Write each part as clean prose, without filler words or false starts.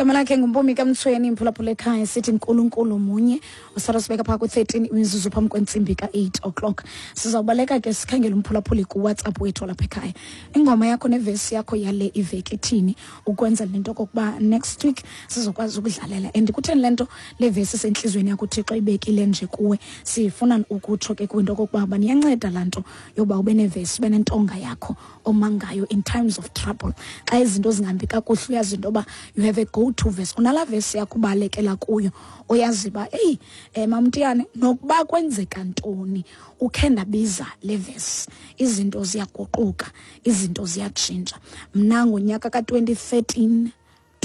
Igama lakhe nguMpumi kaMtshweni, imphulaphula ekhaya, sithi Nkulunkulu munye. Usara sibeka phaa kwi-13 imizuzu phambi kwentsimbi ka-8 o'clock. Sizawubaleka ke sikhangele umphulaphuli kuWhatsApp wethu walapha ekhaya. Ingoma yakho nevesi yakho yale iveki ithini, ukwenza le nto okokuba next week sizokwazi ukudlalela. And kutheni le nto le vesi isentliziyweni yakho uThixo ibekile nje kuwe? Sifuna ukutsho ke kwinto okokuba baniyanceda laa nto yoba ube nevesi, ube nentonga yakho oma ngayo in times of trouble. Xa izinto zingahambi kakuhle uyazi into yoba you have a go to verse, unalaa vesi yakho ubalekela kuyo, oyazi uba eyi, mamtiyane, nokuba kwenzeka ntoni ukhe ndabiza le vesi, izinto ziyaguquka, izinto ziyatshintsha. Mna ngonyaka ka-2013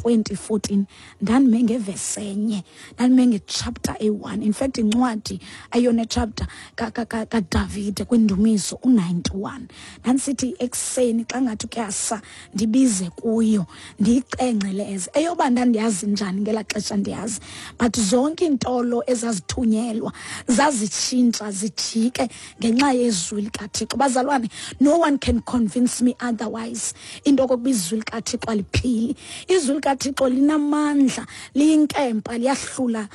2014 ndandime ngevesi enye, ndandime ngechapter eyi-1. In fact incwadi eyona chapter kaDavide kwindumiso u-91, ndandisithi ekuseni xa ngathi kuyasa ndibize kuyo ndiyicengceleze. Eyoba ndandiyazi njani ngelaa xesha ndiyazi, but zonke iintolo ezazithunyelwa zazitshintsha zijike ngenxa yezwi likaThixo. Bazalwane, no one can convince me otherwise into okokuba izwi likaThixo aliphili. Izwi likaThixo linamandla, liyinkempa, liyahlula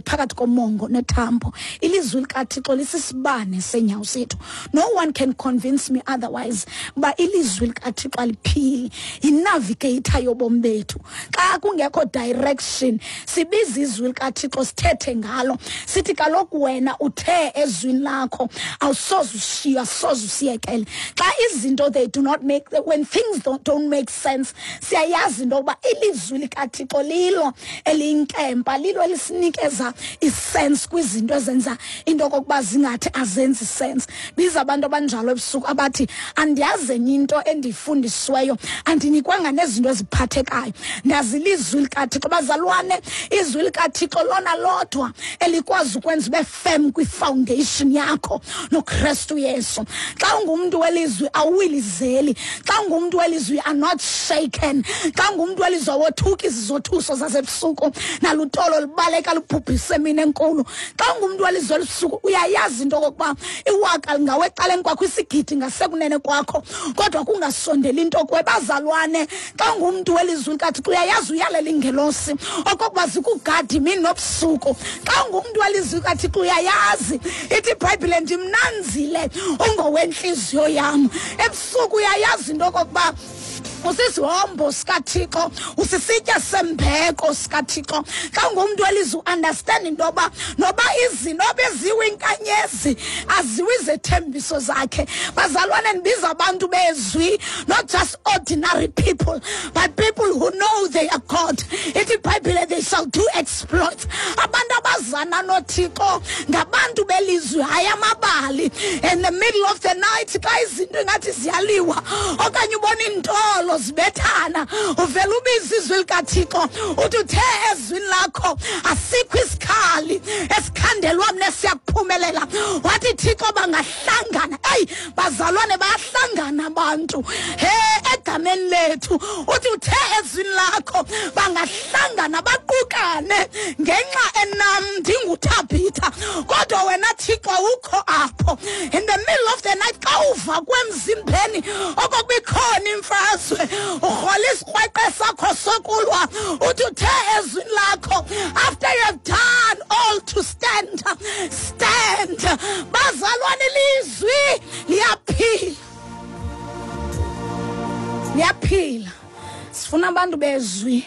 phakathi komongo nethambo. Ilizwi likaThixo lisisibane seenyawo zethu. No one can convince me otherwise uba ilizwi likaThixo aliphili, yinavigator yobomi bethu. Xa kungekho direction sibiza izwi likaThixo, sithethe ngalo, sithi kaloku wena uthe ezwini lakho awusoze ushiye, awusoze usiyekele. Xa izinto they do not make, when things don't make sense, siyayazi into yokuba ilizwi likaThixo lilo eliyinkempa, lilo elisinikeza isense kwizinto ezenza into okokuba zingathi azenzi sense. Biza abantu abanjalo ebusuku abathi andiyazi enye into endiyifundisiweyo, andinikwanga nezinto eziphathekayo, ndazi ilizwi likaThixo. Bazalwane, izwi likaThixo lona lodwa elikwazi ukwenza ube firm kwi-foundation yakho noKristu Yesu. Xa ungumntu welizwi awuwilizeli, xa ungumntu welizwi are not shaken, xa ungumntu welizwi awothuki izizothuso zasebusuku nalutolo lubaleka lubhubhise emini enkulu. Xa ungumntu welizwi elusuku uyayazi into okokuba iwaka lingawe ecaleni kwakho, isigidi ngasekunene kwakho, kodwa kungasondeli into kuwe. Bazalwane, xa ungumntu welizwi likaThixo uyayazi uyalela ingelosi okokuba zikugade imini nobusuku. Xa ungumntu welizwi likaThixo uyayazi ithi iBhayibhile ndimnanzile ungowentliziyo yam. Ebusuku uyayazi into okokuba usisihombo sikaThixo, usisitya sembeko sikaThixo. Xa ungumntu welizwi uunderstand into yoba noba izinto beziwe inkanyezi aziwe izethembiso zakhe. Bazalwane, ndibiza abantu bezwi, not just ordinary people, but people who know they are God. Ithi iBhayibhile they shall do exploits. Abantu abazana noThixo ngabantu belizwi, hayi amabali. In the middle of the night xa izinto ingathi ziyaliwa okanye ubona iintolo zibethana, uvela ubiza izwi likaThixo uthi uthe ezwini lakho asikho isikhali esikhandelwa mna siyakuphumelela. Wathi Thixo bangahlangana. Eyi bazalwane, bayahlangana abantu he egameni lethu. Uthi uthe ezwini lakho bangahlangana baqukane ngenxa enam ndinguThabitha, kodwa wena Thixo awukho apho. In the middle of the night xa uva kwemzimbeni okokuba ikhona imfazwe, urhola isikrweqe sakho sokulwa, uthi uthe ezwini lakho after you have done all to stand, stand. Bazalwane, ilizwi liyaphila, liyaphila. Sifuna abantu bezwi,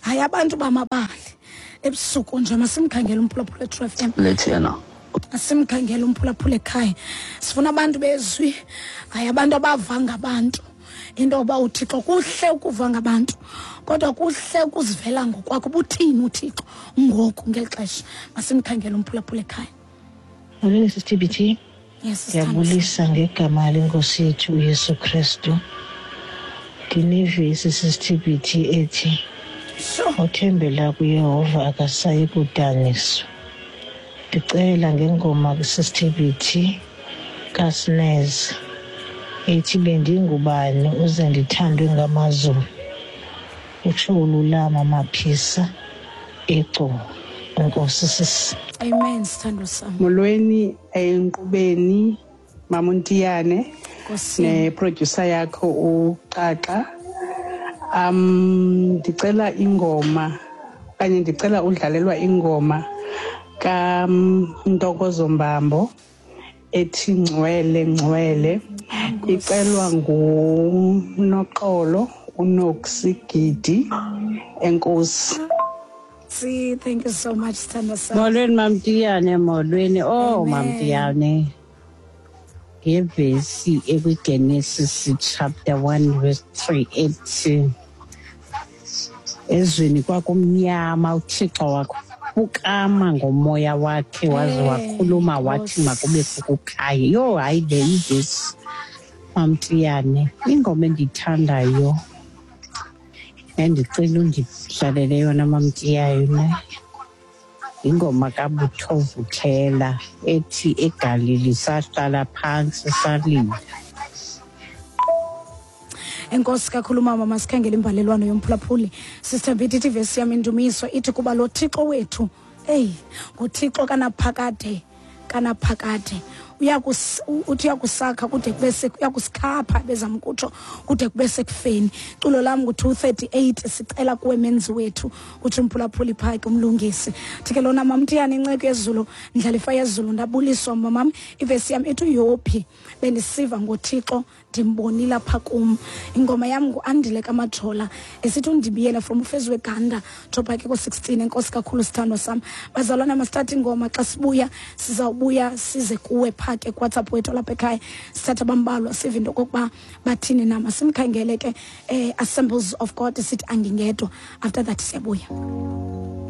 hayi abantu bamabali. Ebusuku nje masimkhangele umphulaphula eTrue FM. Lethena. Asimkhangele umphulaphula ekhaya. Sifuna abantu bezwi, hayi abantu abava ngabantu. Into yoba uThixo kuhle ukuva ngabantu, kodwa kuhle ukuzivela ngokwakho ubuthini uThixo ngoku ngeli xesha. Masimkhangele umphulaphula ekhaya. Molweni sisiTBT. Yes, Ndiyabulisa ngegama lenkosi yethu uYesu Kristu. Ndinevesi sisiTBT ethi othembela kuYehova akasayi kudaniswa. Ndicela ngengoma kwisisiTBT kaSnez ethi bendingubani uze ndithandwe ngamazulu. Utsho uLulama Maphisa eGcuwa. Enkosi sisi. Amen, sithandwa sami. Molweni enkqubeni Mamuntiyane Nkosi. neproducer yakho uXaxa. Ndicela ingoma okanye ndicela udlalelwa ingoma kaNtokozo Mbambo ethi Ngcwele Ngcwele, icelwa nguNoxolo uNoxigidi. Enkosi. See, thank you so much, sithandwa sam. Molweni Mamtiyane, molweni. Oh Amen. Mamtiyane. Ngevesi ekwiGenesis chapter 1 verse 3 ethi ezweni kwakumnyama, uThixo waphukama ngomoya wakhe waze wakhuluma wathi makubekho ukukhanya. Yho, hayi, le ivesi Mamtiyane, ingoma endiyithandayo endicela undidlalele yona Mamtiyane, ingoma kaButho Vuthela ethi "Egalili sahlala phantsi salila". Enkosi kakhulu mama. Masikhangele imbalelwano yomphulaphuli. Sister Mbiti ithi ivesi yam indumiso ithi kuba lo Thixo wethu, eyi, nguThixo kanaphakade kanaphakade, uthi uyakusakha kude kube uyakusikhapha, bezama ukutsho kude kube sekufeni. Culo lam ngu-238, "Sicela Kuwe Menzi Wethu", utsho umphulaphuli phaa ke umlungisi. Thi ke lona, Mamtiyane, inceko yezulu, ndlalifa yezulu, ndabuliswa mamam. Ivesi yam ithi uYophi, bendisiva ngoThixo, ndimbonile apha kum. Ingoma yam nguAndile kaMajola esithi "Undibiyele" from ufezi weganda jobha ke ko-16. Enkosi kakhulu, sithandwa sam. Bazalwana, masithathe ingoma. Xa sibuya sizawubuya size kuwe phaa ke kuWhatsApp wethu lapha ekhaya, sithathe abambalwa, sive into okokuba bathini na. Masimkhangele ke Assemblies of God, sithi "Angingedwa". After that siyabuya.